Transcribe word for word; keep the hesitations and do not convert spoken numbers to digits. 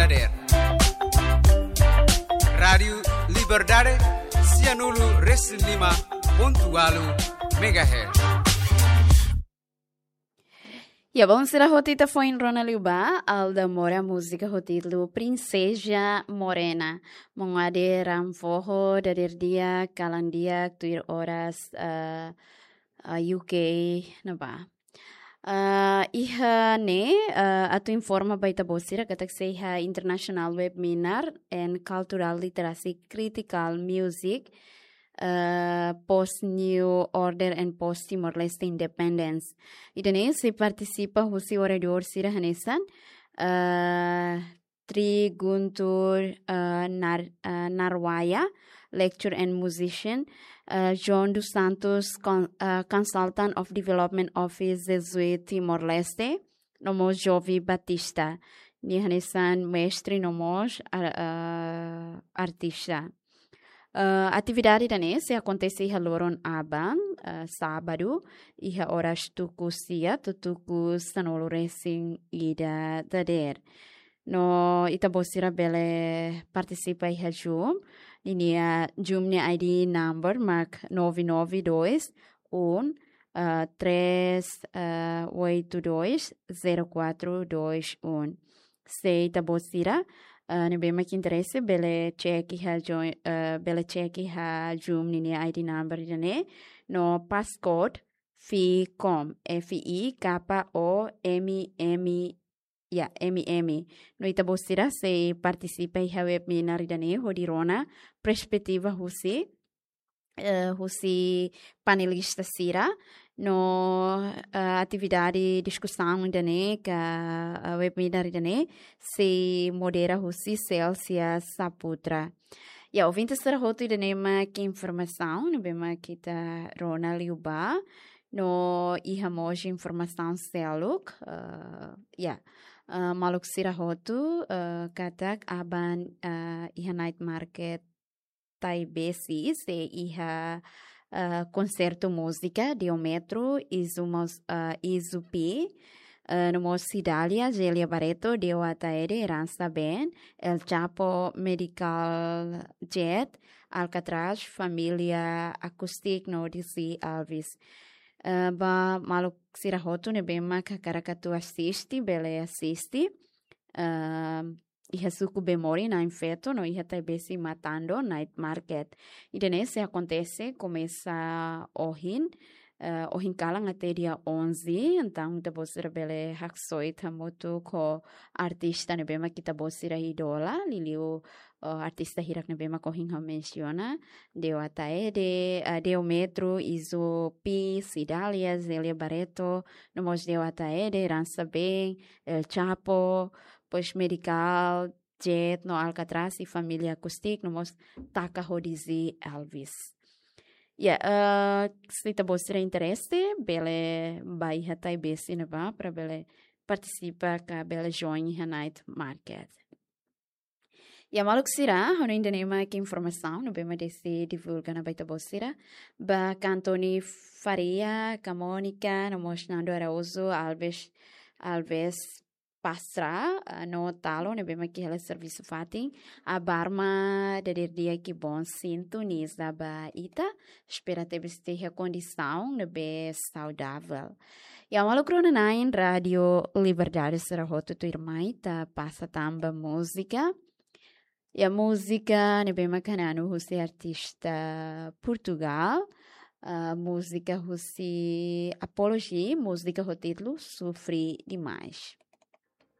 Dadeer. Rádiu Liberdade, sianulu resin lima pontu ualu megahertz. Ya, bom, sira hotu ita foin rona liu ba Alda Mora múzika ho títulu Princesa Morena. Mongade ram foho dadeer di'ak, kalan di'ak, tuir oras, eh, eh, U K ne'ebá. Ah, iha ne'e, ah, atu informa ba ita-boot sira katak sei iha International Webinar and Cultural Literacy Critical Music, ah, Post New Order and Post Timor-Leste Independence. Ida-ne'e sei partisipa husi oradór sira hanesan, ah, Tri Guntur, ah, Nar-, ah, Narwaya, lecturer and musician, ah, John dos Santos, con-, ah, consultant of Development Office Jesuit Timor-Leste, no mós Jovi Batista, nia hanesan mestre no mós ar-, ah, artista. Ah, atividade ida-ne'e sei akontese iha loron aban, ah, sábadu, iha oras tuku sia to'o tuku sanulu resin ida dadeer. No ita-boot sira bele partisipa iha Zoom. Ninia Zoom nia I D number mak nove nove dois um, ah, três, ah, oito dois, zero quatro dois um. Se ita-boot sira, ah, ne'ebé mak interese bele cek iha Zoom, ah, bele cek iha Zoom ninia I D number ida-ne'e. No passcode ficom, F I K O M M, ya, M M. No ita-boot sira sei partisipa iha webinar ida-ne'e hodi rona perspetiva husi, eh, husi panelista sira. No, eh, atividade diskusaun ida-ne'e ka, eh, webinar ida-ne'e sei modera husi Celsia Saputra. Ya, ouvinte sira hotu, ida-ne'e mak informasaun ne'ebé mak ita rona liu ba. No iha mós informasaun seluk, eh, ya, eh, maluk sira hotu, eh, katak aban, eh, iha night market Taibesi sei iha, eh, konsertu múzika Diometro, Izu mós, eh, Izu P, eh, no mós Cidália, Gélia Barreto, Deo Ataede, Herança Ben, El Chapo, Medical Jet, Alcatraz, Família Acoustic no D C Alves. Eh, ba maluk sira hotu ne'ebé mak hakarak atu asiste, bele asiste. Eh, iha suku Bemori, Na'in Feto, no iha Taibesi Matando, night market. Ida-ne'e sei akontese komesa ohin, eh, ohin kalan até dia onze, entaun ita-boot sira bele haksoit hamutuk ho artista ne'ebé mak ita-boot sira idola, liuliu, eh, artista hirak ne'ebé mak ohin ha'u mensiona, Deo Ataede, eh, Diometro, Izu P, Cidália, Gélia Barreto, no mós Deo Ataede, Herança Ben, El Chapo, pois Medical, Jet no Alcatraz, i Família Acoustic, no mós Taka ho D C Alves. Ya, eh, se ita-boot sira interese, bele ba iha Taibesi ne'ebá, para bele partisipa ka bele join iha night market. Ya, maluk sira, ha'u-nia ida-ne'e mak informasaun ne'ebé mak deside divulga ona ba ita-boot sira. Ba Cantoni Faria, ka Mónica, no mós Nando Araújo, Alves, Alves Pastra, ah, no Talo, ne'ebé mak iha hela servisu fatin. Abar mak dadeer di'ak i bom sintoniza ba ita. Espera tebes ita iha kondisaun ne'ebé saudavel. Ya, maluk rona-na'in Rádiu Liberdade sira hotu, tuirmai ita pasa tan ba múzika. Ya, múzika ne'ebé mak hananu husi artista Portugal. Ah, múzika husi Apology, múzika ho títulu Sofri Demais.